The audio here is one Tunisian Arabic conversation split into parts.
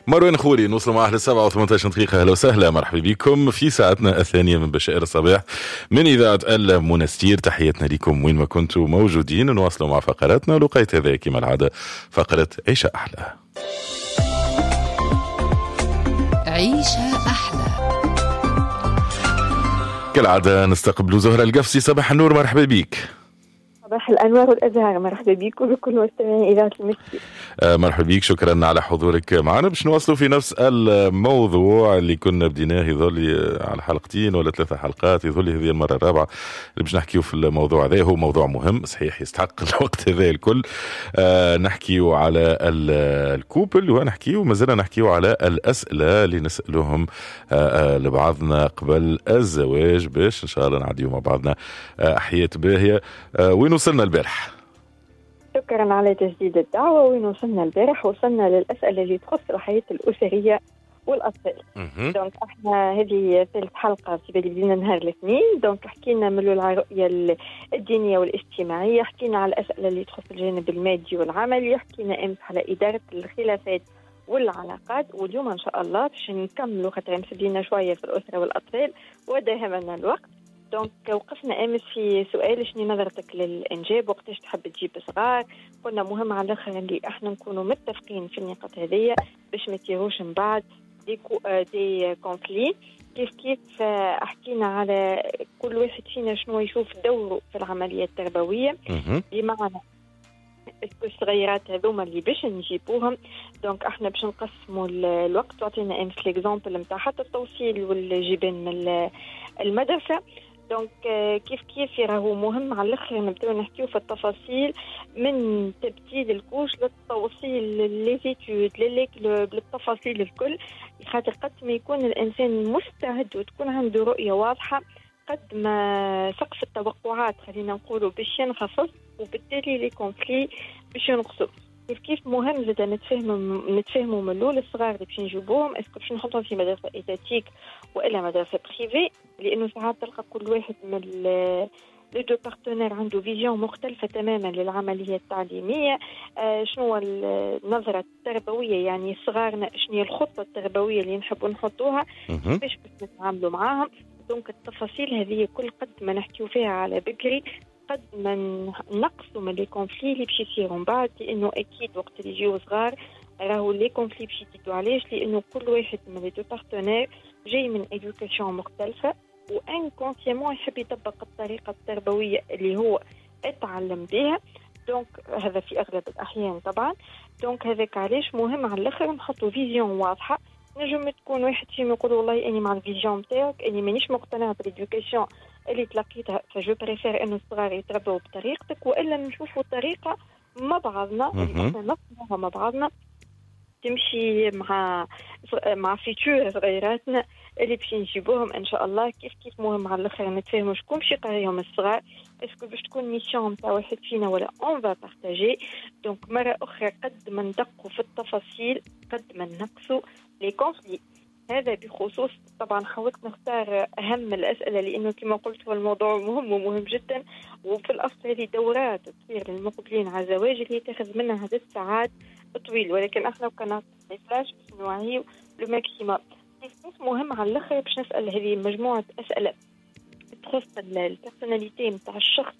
مروان خوري نوصلوا معاه ل 7:18 دقيقة. أهلا وسهلا، مرحبا بكم في ساعتنا الثانية من بشائر الصباح من إذاعة المنستير. تحياتنا لكم وين ما كنتوا موجودين. نواصلوا مع فقراتنا ولقيت هذا كما العادة فقرة عيشة أحلى. عيشة أحلى كالعادة نستقبل زهرة القفصي. صباح النور، مرحبا بك. صباح الأنوار والأزهار، مرحبا بك وبكل مستمعي إذاعة المسجد. مرحبا بك، شكرا على حضورك معنا باش نواصلوا في نفس الموضوع اللي كنا بديناه يظل على حلقتين ولا 3 حلقات، يظل هذه المرة الرابعة اللي باش نحكيو في الموضوع هذا. هو موضوع مهم صحيح، يستحق الوقت هذا الكل. نحكيو على ال couple ونحكيو مازلنا نحكيو على الأسئلة اللي نسألوهم لبعضنا قبل الزواج باش إن شاء الله نعديو مع بعضنا حياة باهية. وين وصلنا البارح؟ شكرا على تجديد الدعوة. وين وصلنا البارح؟ وصلنا للأسئلة اللي تخص الحياة الأسرية والأطفال. donc احنا هذه ثالث حلقة في بالي بدينا نهار الاثنين. donc حكينا من الأول على الرؤية الدينية والاجتماعية، حكينا على الأسئلة اللي تخص الجانب المادي والعملي، حكينا أمس على إدارة الخلافات والعلاقات، واليوم إن شاء الله باش نكملوا خاطر مسدينا شوية في الأسرة والأطفال وداهمنا الوقت. donc وقفنا امس في سؤال شنو نظرتك للانجاب، وقتاش تحب تجيب صغار. قلنا مهم على الاخر اللي احنا نكونوا متفقين في النقاط هذيا باش ما تيروش من بعد des conflits. كيف كيف حكينا على كل واحد فينا شنو يشوف دوره في العملية التربوية، بمعنى الصغيرات هذوما اللي باش نجيبوهم. donc احنا باش نقسموا الوقت، وعطينا امس l'exemple نتاع حتى التوصيل والجيبان من المدرسة. donc كيف كيف راهو مهم على الاخر نبداو نحكيو في التفاصيل من تبديل ال couche للتوصيل les études les clubs للتفاصيل الكل، خاطر قد ما يكون الانسان مستعد وتكون عنده رؤية واضحة قد ما سقف التوقعات خلينا نقولوا باش ينخفض، وبالتالي les conflits باش ينقصوا. كيف كيف مهم زاد نتفاهموا من الاول الصغار اللي باش نجيبوهم est-ce que باش نحطهم في مدرسه étatique والا مدرسه privée، لانه ساعات تلقى كل واحد من les deux partenaires عنده vision مختلفة تماما للعملية التعليمية. شنو النظرة التربوية، يعني صغارنا شنو هي الخطة التربوية اللي نحبوا نحطوها، كيفاش باش نتعاملوا معاهم. donc التفاصيل هذه كل قد ما نحكيو فيها على بكري قد ما نقصوا من les conflits اللي باش يصيروا من بعد، لانه اكيد وقت اللي يجيو صغار راهو les conflits باش يزيدوا. علاش؟ لانه كل واحد من les deux partenaires جاي من éducation مختلفة و inconsciemment يحب يطبق الطريقة التربوية اللي هو اتعلم بها. donc هذا في اغلب الاحيان طبعا. donc هذاك علاش مهم على الاخر نحطوا vision واضحة. نجم تكون واحد فيهم يقول والله اني مع ال vision نتاعك، اني مانيش مقتنع بال éducation اللي تلقيتها، ف je préfère انه الصغار يتربوا بطريقتك، والا نشوفوا طريقه مع بعضنا اللي احنا نصنعها مع بعضنا تمشي مع futur صغيراتنا اللي باش نجيبوهم ان شاء الله. كيف كيف مهم على الاخر نتفاهموا شكون باش يقريهم الصغار، est-ce que باش تكون mission تاع واحد فينا ولا on va partager. donc مرة اخرى قد ما ندقوا في التفاصيل قد ما نقصوا les conflits. هذا بخصوص طبعا حاولت نختار اهم الاسئلة لانه كما قلت هو الموضوع مهم ومهم جدا، وفي الاصل هذه دورات تصير للمقبلين على الزواج اللي تاخذ منها عدد ساعات طويل، ولكن احنا كنا فلاش باش نوعيو le maximum. مهم على الاخر باش نسال هذه مجموعة اسئلة تخص ال personnalité نتاع الشخص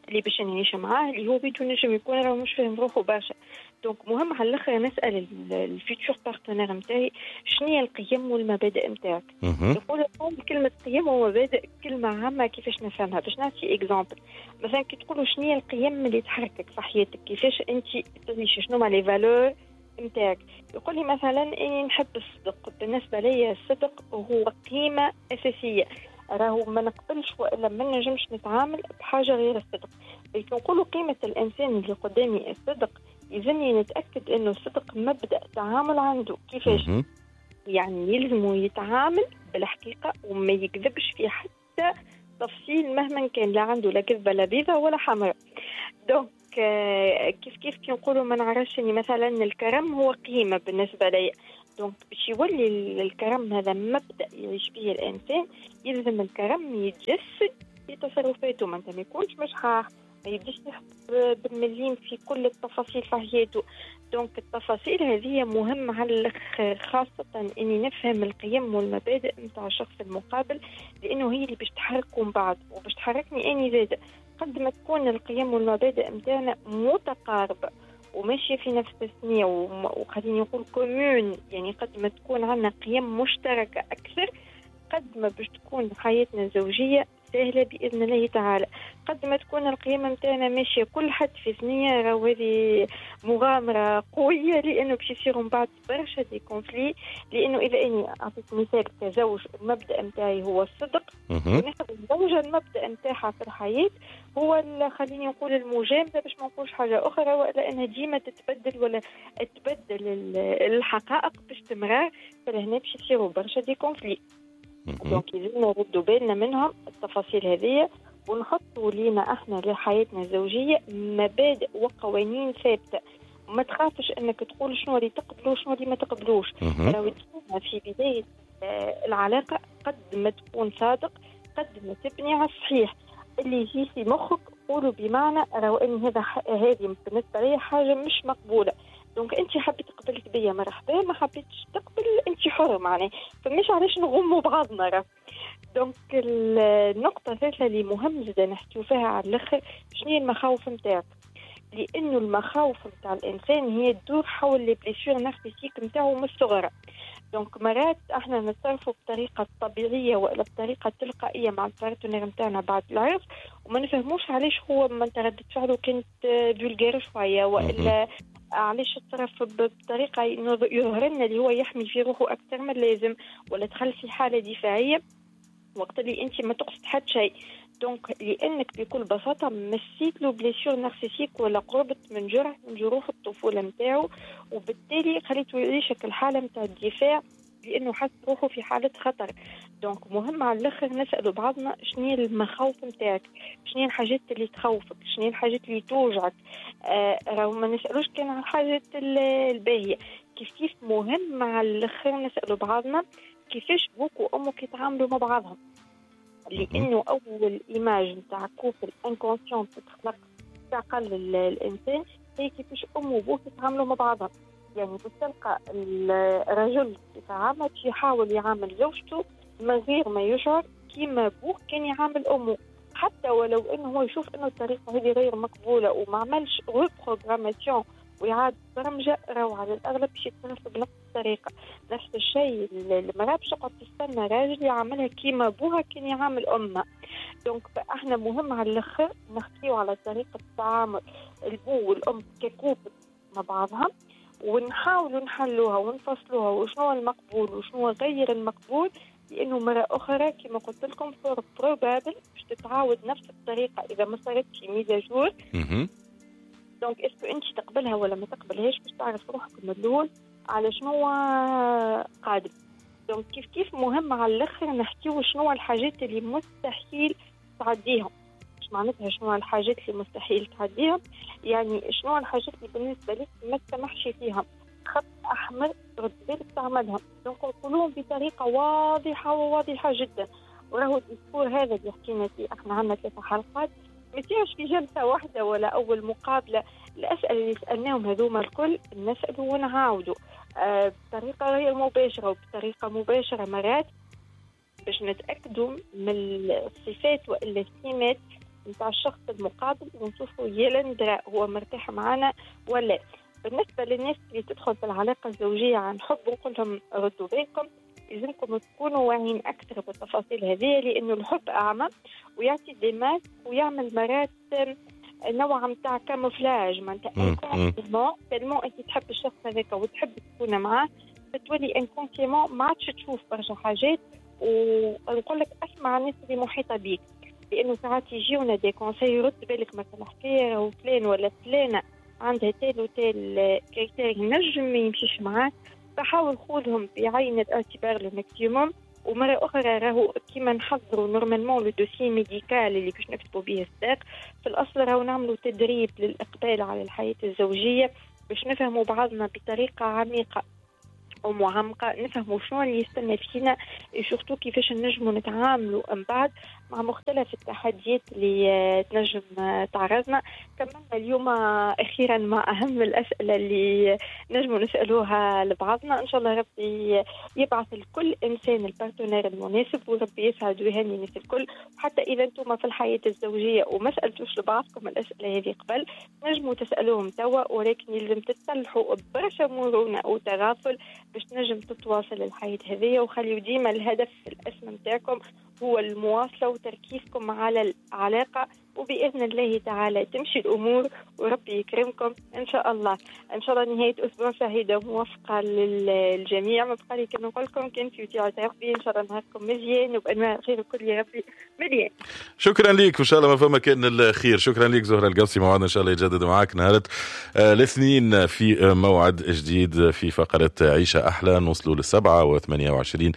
اللي باش نعيش معاه، اللي هو بيتو نجم يكون راه مش فاهم روحه برشا. donc مهم على الاخر نسال ال futur partenaire نتاعي شنو هي القيم والمبادئ نتاعك. يقول كلمة قيم ومبادئ كلمة عامة كيفاش نفهمها؟ باش نعطي exemple مثلا كي تقولوا شنو هي القيم اللي تحركك في حياتك، كيفاش انت تعيش، شنو هما les valeurs نتاعك. يقول لي مثلا اني نحب الصدق، بالنسبة لي الصدق هو قيمة اساسية، راهو ما نقبلش والا ما نجمش نتعامل بحاجة غير الصدق. لكن نقولوا قيمة الانسان اللي قدامي الصدق، يلزمني نتاكد انه الصدق مبدا تعامل عنده. كيفاش؟ يعني يلزمه يتعامل بالحقيقة وما يكذبش في حتى تفصيل مهما كان، لا عنده لا كذبه لا بيضة ولا حمراء. donc كيف كيف كي نقولوا ما نعرفش اني مثلا الكرم هو قيمة بالنسبة لي، donc باش يولي الكرم هذا مبدا يعيش به الانسان يلزم الكرم يتجسد في تصرفاته، ما يكونش مشحاح، ما يبداش يحب بالمليم في كل التفاصيل في حياته. donc التفاصيل هذه مهمة على الاخر، خاصة اني نفهم القيم والمبادئ نتاع الشخص المقابل، لانه هي اللي باش تحركه من بعد وباش تحركني اني زاده. قد ما تكون القيم والمبادئ نتاعنا متقاربة وماشية في نفس الثنية وخليني نقول communes، يعني قد ما تكون عندنا قيم مشتركة اكثر، قد ما باش تكون حياتنا الزوجية سهلة باذن الله تعالى. قد ما تكون القيمة نتاعنا ماشية كل حد في ثنيه، راهو هذه مغامرة قوية، لانه باش يصيروا من بعد برشا des conflits. لانه اذا اني اعطيك مثال كزوج، المبدا نتاعي هو الصدق، وناخذ الزوجة المبدا نتاعها في الحياة هو خليني نقول المجاملة، باش ما نقولش حاجة اخرى، ولا انها ديما تتبدل ولا تبدل الحقائق باستمرار، فلهنا باش يصيروا برشا des conflits. donc لازمنا نردوا بالنا منهم التفاصيل هذه، ونحطوا لينا احنا لحياتنا الزوجية مبادئ وقوانين ثابتة. ما تخافش انك تقول شنو اللي تقبلو وشنو اللي ما تقبلوش. لو تكون في بداية العلاقة قد ما تكون صادق، قد ما تبني على الصحيح اللي يجي في مخك قولوا، بمعنى راهو ان هذه بالنسبة لي حاجة مش مقبولة. donc انت حبيت قبلت بيا مرحبا، ما حبيتش تقبل انت حره، معناها فمش علاش نغموا بعضنا راه. donc النقطة الثالثة اللي مهم جدا نحكيو فيها على الاخر، شنو هي المخاوف نتاعك؟ لانه المخاوف نتاع الانسان هي تدور حول les blessures narcissiques نتاعو من الصغر. donc مرات احنا نتصرفوا بطريقة طبيعية والا بطريقة تلقائية مع ال partenaire نتاعنا بعد العرس، وما نفهموش علاش هو من ردة فعله كانت vulgaire شوية، والا علاش تصرف بطريقة يظهر لنا اللي هو يحمي في روحه اكثر من اللازم، ولا دخل في حاله دفاعية وقت اللي انت ما تقصد حتى شيء. donc لانك بكل بساطة مسيت له blessure narcissique ولا قربت من جرح من جروح الطفولة نتاعو، وبالتالي خليته يعيشك الحالة نتاع الدفاع لانه حس روحه في حاله خطر. donc مهم على الاخر نسالوا بعضنا شنو هي المخاوف نتاعك، شنو هي الحاجات اللي تخوفك، شنو هي الحاجات اللي توجعك. راهو ما نسالوش كان على الحاجات الباهيه. كيف كيف مهم على الاخر نسالوا بعضنا كيفاش بوك وامك يتعاملوا مع بعضهم، لانه اول image نتاع couple inconsciente تتخلق في عقل الانسان هي كيفاش امه وبوه يتعاملوا مع بعضهم. يعني تلقى الرجل يتعامل يحاول يعامل زوجته من غير ما يشعر كيما بوه كان يعامل امه، حتى ولو انه هو يشوف انه الطريقة هذه غير مقبولة وما عملش reprogrammation ويعاد برمجة، راهو على الاغلب باش يتصرف بنفس الطريقة. نفس الشيء المراة باش تقعد تستنى راجل يعملها كيما بوها كان يعامل امها. donc احنا مهم على الاخر نحكيو على طريقه التعامل البو والام ك couple مع بعضها، ونحاولوا نحلوها ونفصلوها وشنو المقبول وشنو غير المقبول، لانه مرة اخرى كما قلت لكم fort probable باش تتعاود نفس الطريقة اذا ما صارتش mise à jour. donc est-ce que انت تقبلها ولا ما تقبلهاش باش تعرف روحك من الاول على شنو قادم. donc كيف كيف مهم على الاخر نحكيو شنو الحاجات اللي مستحيل تعديهم. مش معناتها شنو الحاجات اللي مستحيل تعديهم، يعني شنو الحاجات اللي بالنسبة لك ما تسمحش فيها، خط احمر رد بالك تعملهم. donc نقولوهم بطريقة واضحة وواضحة جدا. وراهو ال discours هذا اللي حكينا فيه احنا عندنا 3 حلقات، ما يصيرش في جلسه واحدة ولا اول مقابله. الاسئلة اللي سالناهم هذوما الكل نسالوا ونعاودوا بطريقة غير مباشرة وبطريقة مباشرة مرات باش نتاكدوا من الصفات والا السمات نتاع الشخص المقابل ونشوفوا يلندرا هو مرتاح معنا ولا. بالنسبة للناس اللي تدخل في العلاقة الزوجية عن حب نقول لهم ردوا بالكم، لازمكم تكونوا واعيين اكثر بالتفاصيل هذه، لانه الحب اعمى ويعطي des masques ويعمل مرات نوع نتاع camouflage، معناتها tellement انت تحب الشخص هذاك وتحب تكون معاه فتولي inconsciemment ما عادش تشوف برشا حاجات. ونقول لك اسمع الناس اللي محيطه بيك، لانه ساعات يجيونا des conseils رد بالك مثلا حكاية وفلان ولا فلانه عندها tel و tel critère نجم ما يمشيش معاك، فحاول خذهم بعين الاعتبار le maximum. ومرة اخرى راهو كيما نحضروا normalement le dossier médical اللي باش نكتبوا به الصداق، في الاصل راهو نعملوا تدريب للاقبال على الحياة الزوجية باش نفهموا بعضنا بطريقة عميقة ومعمقة، نفهموا شنو اللي يستنى فينا، surtout كيفاش نجموا نتعاملوا من بعد مع مختلف التحديات اللي تنجم تعرضنا. كملنا اليوم أخيرا مع أهم الأسئلة اللي نجموا نسألوها لبعضنا. إن شاء الله ربي يبعث لكل إنسان ال partenaire المناسب، وربي يسعد ويهني الناس الكل. وحتى إذا أنتم في الحياة الزوجية وما سألتوش لبعضكم الأسئلة هذه قبل، نجموا تسألوهم توا، ولكن يلزم تتسلحوا برشا مرونة وتغافل باش تنجم تتواصل الحياة هذه. وخليوا ديما الهدف الأسمى متاعكم هو المواصلة وتركيزكم على العلاقة، وبإذن الله تعالى تمشي الأمور وربي يكرمكم إن شاء الله. إن شاء الله نهاية أسبوع سعيدة وموفقة للجميع. ما بقى لي كان نقول لكم كان في وديعة ربي، إن شاء الله نهاركم مزيان وبأنواع الخير الكل يا ربي مليان. شكرا لك، وإن شاء الله ما فما كان الخير. شكرا لك زهرة القفصي، موعدنا إن شاء الله يتجدد معك نهار الاثنين في موعد جديد في فقرة عيشة أحلى. نوصلوا 7:28.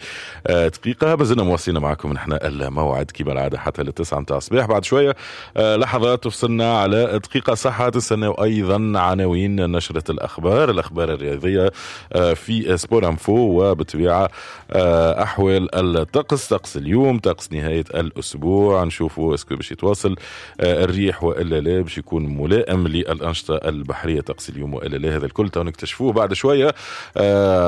مازلنا مواصلين معكم نحن الموعد كما العادة حتى 9 متاع الصباح. بعد شوية لحظات تفصلنا على دقيقة صحة. تستناو أيضا عناوين نشرة الأخبار، الأخبار الرياضية في Sport Info، وبالطبيعة أحوال الطقس، طقس اليوم، طقس نهاية الأسبوع، نشوفوا est-ce que باش يتواصل الريح وإلا لا، باش يكون ملائم للأنشطة البحرية طقس اليوم وإلا لا. هذا الكل نكتشفوه بعد شوية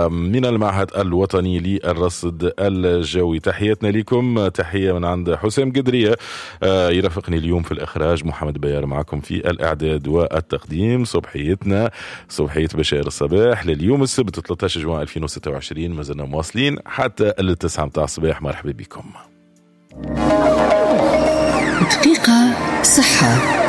من المعهد الوطني للرصد الجوي. تحياتنا لكم، تحية من عند حسام قدرية يرافقني اليوم في الإخراج، محمد بيار معكم في الإعداد والتقديم. صبحيتنا صبحية بشائر الصباح لليوم السبت 13 جوان 2026، ما زلنا مواصلين حتى 9 متاع الصباح. مرحبا بكم. دقيقة صحة.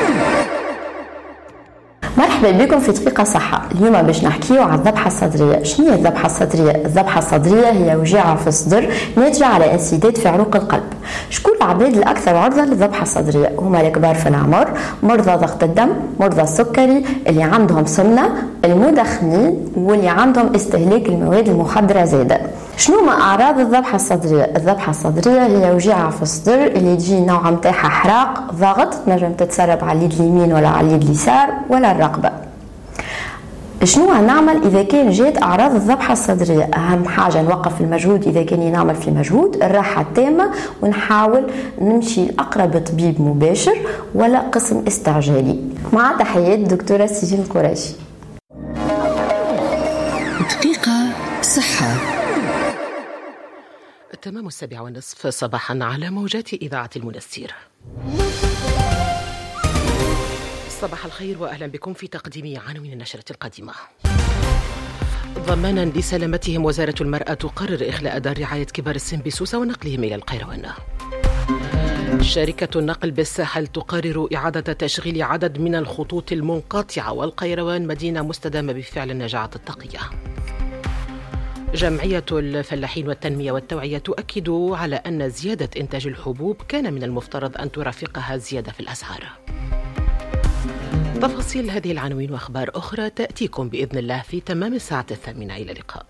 مرحبا بكم في دقيقة صحة. اليوم باش نحكيو على الذبحة الصدرية. شنو هي الذبحة الصدرية؟ الذبحة الصدرية هي وجيعة في الصدر ناتجة على انسداد في عروق القلب. شكون العباد الأكثر عرضة للذبحة الصدرية؟ هما الكبار في العمر، مرضى ضغط الدم، مرضى السكري، اللي عندهم سمنة، المدخنين، واللي عندهم استهلاك المواد المخدرة زادة. شنو ما أعراض الذبحة الصدرية؟ الذبحة الصدرية هي وجيعة في الصدر اللي تجي نوع متاعها حراق، ضغط، تنجم تتسرب على اليد اليمين ولا على اليد اليسار ولا الرقبة. شنو نعمل إذا كان جات أعراض الذبحة الصدرية؟ أهم حاجة نوقف المجهود إذا كان نعمل في مجهود، الراحة التامة، ونحاول نمشي لأقرب طبيب مباشر ولا قسم استعجالي. مع تحيات دكتورة سيرين القريشي. دقيقة صحة. تمام 7:30 صباحا على موجات إذاعة المنستير. صباح الخير وأهلا بكم في تقديم عناوين النشرة القادمة. ضمانا لسلامتهم، وزارة المرأة تقرر إخلاء دار رعاية كبار السن بسوسة ونقلهم إلى القيروان. شركة النقل بالساحل تقرر إعادة تشغيل عدد من الخطوط المنقطعة، والقيروان مدينة مستدامة بفعل النجاعة الطاقية. جمعية الفلاحين والتنمية والتوعية تؤكد على أن زيادة إنتاج الحبوب كان من المفترض أن ترافقها زيادة في الأسعار. تفاصيل هذه العناوين وأخبار أخرى تأتيكم بإذن الله في تمام الساعة 8. إلى اللقاء.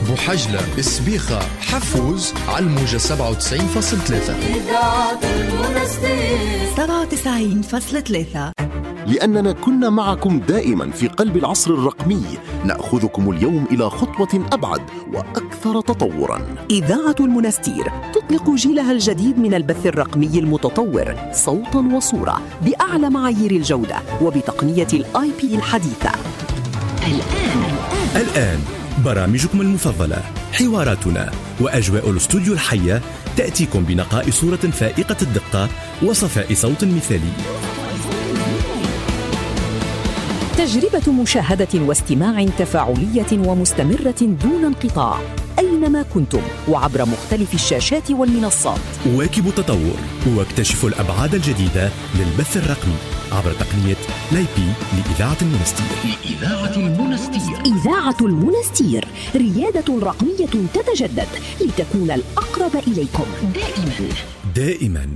بوحجلة، السبيخة، حفوز على الموجة 97.3. 97.3. لأننا كنا معكم دائما في قلب العصر الرقمي، نأخذكم اليوم إلى خطوة أبعد وأكثر تطورا. إذاعة المنستير تطلق جيلها الجديد من البث الرقمي المتطور صوتا وصورة بأعلى معايير الجودة وبتقنية الآي بي الحديثة. الآن برامجكم المفضلة، حواراتنا وأجواء الاستوديو الحية تأتيكم بنقاء صورة فائقة الدقة وصفاء صوت مثالي. تجربة مشاهدة واستماع تفاعلية ومستمرة دون انقطاع أينما كنتم وعبر مختلف الشاشات والمنصات. واكبوا التطور واكتشفوا الأبعاد الجديدة للبث الرقمي عبر تقنية l'IP لإذاعة المنستير. لإذاعة المنستير. إذاعة المنستير، ريادة رقمية تتجدد لتكون الأقرب إليكم دائما. دائما.